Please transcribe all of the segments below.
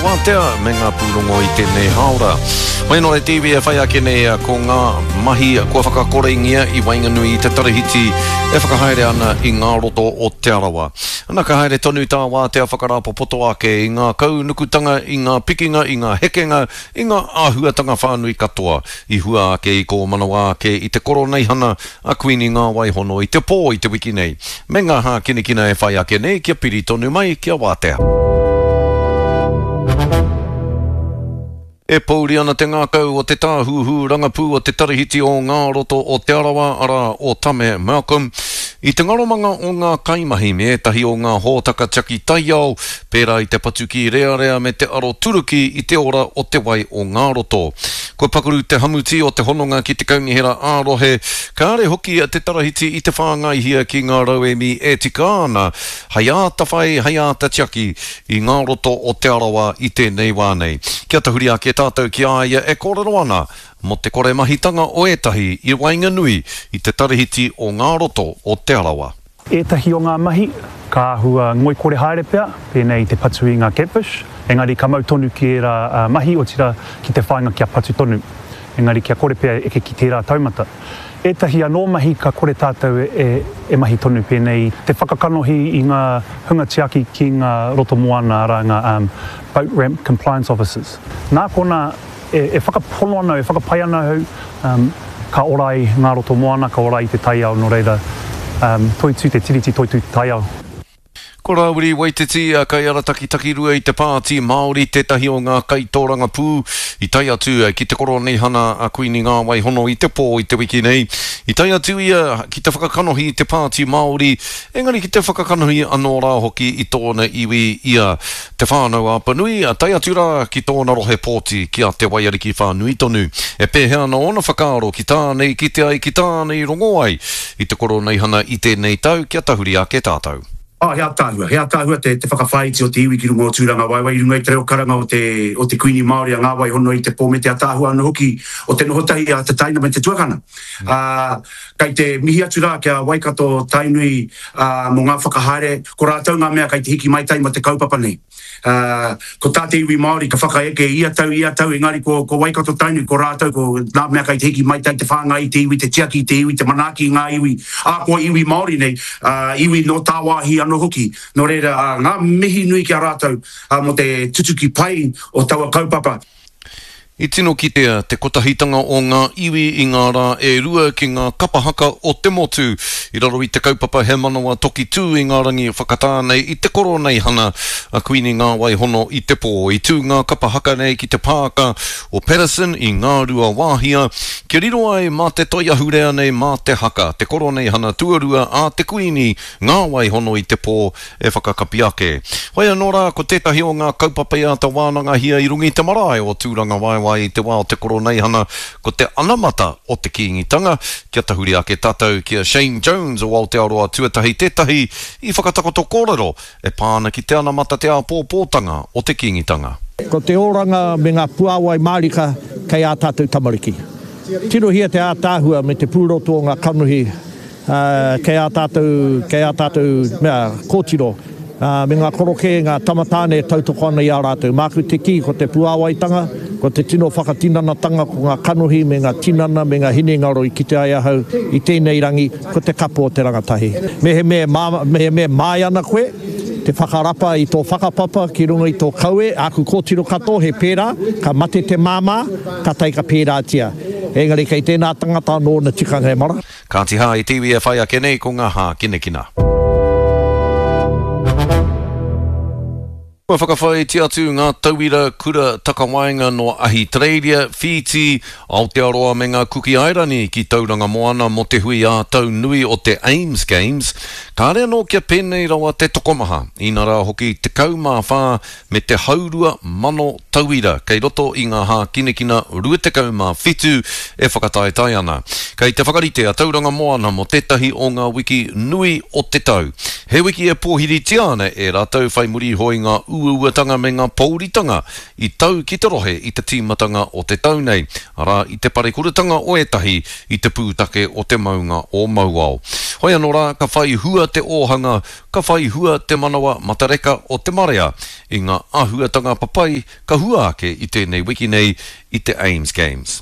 Wātea me ngā pūrongo i tēnei hāora. Hoi anō e te iwi e whai ake nei ko ngā mahi kua whakakorengia i waenganui i te tarahiti e whakahaere ana i ngā roto o Te Arawa. Ana ka haere tonu tā Wātea whakarāpopoto ake i ngā kaunukutanga, i ngā pikinga, i ngā hekenga, i ngā āhuatanga whānui katoa i hua ake i kōmanawa ake i te koroneihana a Kuini Ngāwaihono i te pō i te wiki nei, me ngā hākinakina e whai ake nei kia piri tonu mai ki a Wātea. E pōuri ana te ngākau o te tāhuhu rangapū o te Tarahiti o Ngā Roto o Te Arawa, arā, o Tame Malcolm, i te ngaromanga o ngā kaimahi me ētahi o ngā hōtaka tiaki taiao, pērā i te patu kīrearea me te aroturuki i te ora o te wai o ngā roto. Kua pakaru te hamuti o te hononga ki te kaunihera ā-rohe, kāre hoki te tarahiti i te whāngaihia ki ngā rauemi e tika ana hei āta whai, hei āta tiaki i ngā roto o Te Arawa i tēnei wā nei. Kia tahuri ake tātou ki a ia e kōrero ana mō te kore mahitanga o ētahi i waenganui i te tarahiti o ngā roto o Te Arawa. Ētahi o ngā mahi ka āhua ngoikore haere pea, pēnei i te patu i ngā catfish, engari ka mau tonu ki ērā mahi, otirā ki te whāinga kia patu tonu, engari kia kore pea e eke ki tērā taumata. Ētahi anō mahi ka kore tātou e mahi tonu, pēnei i te whakakanohi i ngā hunga tiaki ki ngā roto moana, arā ngā boat ramp compliance officers. Nā konā, E whakapono ana au, e whakapai ana ahau, ka ora ai ngā roto moana, ka ora ai te taiao, nō reira, toitū te Tiriti, toitū te taiao. Ko Rāwiri Waititi, kaiarataki takirua i te Pāti Māori, tētahi o ngā kaitōrangapū i tae atu ki te Koroneihana a Kuini Ngāwaihono i te pō i te wiki nei. I tae atu ia ki te whakakanohi i te Pāti Māori, engari ki te whakakanohi anō rā hoki i tōna iwi i a Te Whānau-a-Apanui, tae atu rā ki tōna rohe pōti ki a Te Waiariki whānui tonu. E pēhea ana ōna whakaaro ki tāna i kite ai, ki tāna i rongo ai i te Koroneihana i tēnei tau, kia tahuri ake tātou. Oh, he ataahua, he ataahua te, te whakawhāiti o te iwi ki runga o Tūrangawaewae i runga i te reo karanga o te, o te Kuini Māori a Ngāwaihono i te pō me te ataahua anō hoki o te noho tahi a te taina me te tuakana. Ā, kei te mihi atu rā ki a Waikato Tainui, ā, mō ngā whakahaere, ko rātou ngā mea kei te hiki maitai mō te kaupapa nei. Ā, ko tā te iwi Māori ka whakaeke ia tau, ia tau, engari ko, ko Waikato Tainui, ko rātou, ko ngā mea kei te hiki maitai, te whāngai i te iwi, te tiaki i te iwi, te manaaki i ngā iwi, ā, kua iwi Māori nei, ā, iwi nō tāwāhi anō hoki. Nō reira, ā, ngā mihi nui ki a rātou, ā, mō te tutuki pai o taua kaupapa. I tino kitea te kotahitanga o ngā iwi i ngā rā e rua ki ngā kapa haka o te motu i raro i te kaupapa He Manawa Toki Tū i ngā rangi whakatā nei i te Koroneihana a Kuini Ngāwaihono i te pō. I tū ngā kapa haka nei ki te pāka o Paterson i Ngāruawāhia kia riro ai mā te toi ahurea nei mā te haka te Koroneihana tuarua a te Kuini Ngāwaihono i te pō e whakakapi ake. Hoi anō rā, ko tētahi o ngā kaupapa i āta wānangahia i runga i te marae o Tūrangawaewae i te wā o te Koroneihana, ko te anamata o te Kīngitanga. Kia tahuri ake tātou ki a Shane Jones o Aotearoa Tuatahi tētahi i whakatakoto kōrero e pā ana ki te anamata te āpōpōtanga o te Kīngitanga. Ko te oranga me ngā puāwai mārika kei ā tātou tamariki. Tirohia te ātaahua me te pūroto o ngā kanohi Kei ā tātou, kei ā tātou mea, kōtiro, me ngā korokē, ngā tama tāne e tautoko ana i a rātou. Māku te kī, ko te puāwaitanga, ko te tino whakatinanatanga, ko ngā kanohi me ngā tinana me ngā hinengaro i kite ai ahau i tēnei rangi, ko te kapo o te rangatahi. Mehemea e mehemea e māia ana koe, te whakarapa i tō whakapapa ki runga i tō kaue, āku kōtiro katoa he pērā, ka mate te māmā, ka tae ka pērātia. Engari kei tēnā tangata anō ōna tikanga e mara. Kāti hā i te iwi e whai ake nei ko ngā hākinakina. Kua whakawhāiti atu ngā tauira kura takawaenga nō Ahitereiria, Whītī, Aotearoa me ngā Kuki Airani ki Tauranga Moana mō te hui ā-tau nui o te AIMS Games. Kāre anō kia pēnei rawa te tokomaha, inarā hoki 14 me te haurua mano tauira kei roto i ngā hākinakina 27 e whakataetae ana. Kei te whakarite a Tauranga Moana mō tētahi o ngā wiki nui o te tau. He wiki e pōhiritia ana e rātou whai muri iho i ngā uauatanga me ngā pōuritanga i tau ki te rohe i te tīmatanga o te tau nei, arā, i te parekuratanga o ētahi i te pūtake o te maunga o Mauao. Hoi anō rā, ka whai hua te ōhanga Ka whai hua te manawa matareka o te marea. i ngā āhuatanga papai ka hua ake i tēnei wiki nei i te Aims Games.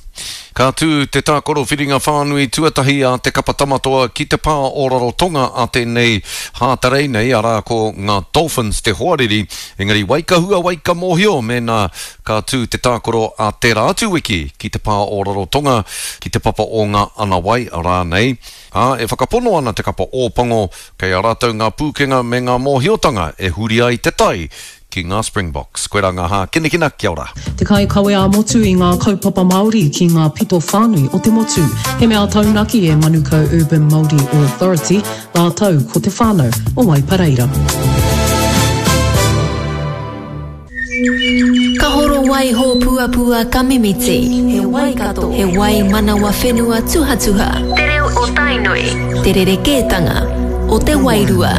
Ka tū te tākaro whiringa whānui tuatahi a te kapa Tamatoa ki te pā o Rarotonga a tēnei Hātarei nei, arā ko ngā Dolphins te hoariri, engari wai ka hua, wai ka mōhio mēnā ka tū te tākaro a tērā atu wiki ki te pā o Rarotonga, ki te papa o ngā Anawai rānei. Ā, e whakapono ana te kapa Ōpango kei a rātou ngā pūkenga me ngā mōhiotanga e huri ai te tai ki ngā Springboks. Koirā ngā hākinakina, kia ora. Te kaikawe ā-motu i ngā kaupapa Māori ki ngā pito whānui o te motu. He mea taunaki e Manukau Urban Māori Authority rātou ko te whānau o Waipareira. Ka horo wai hōpuapua ka mimiti. He Waikato, he wai manawa whenua tuhatuha. Te reo o Tainui. Te rerekētanga o te wairua.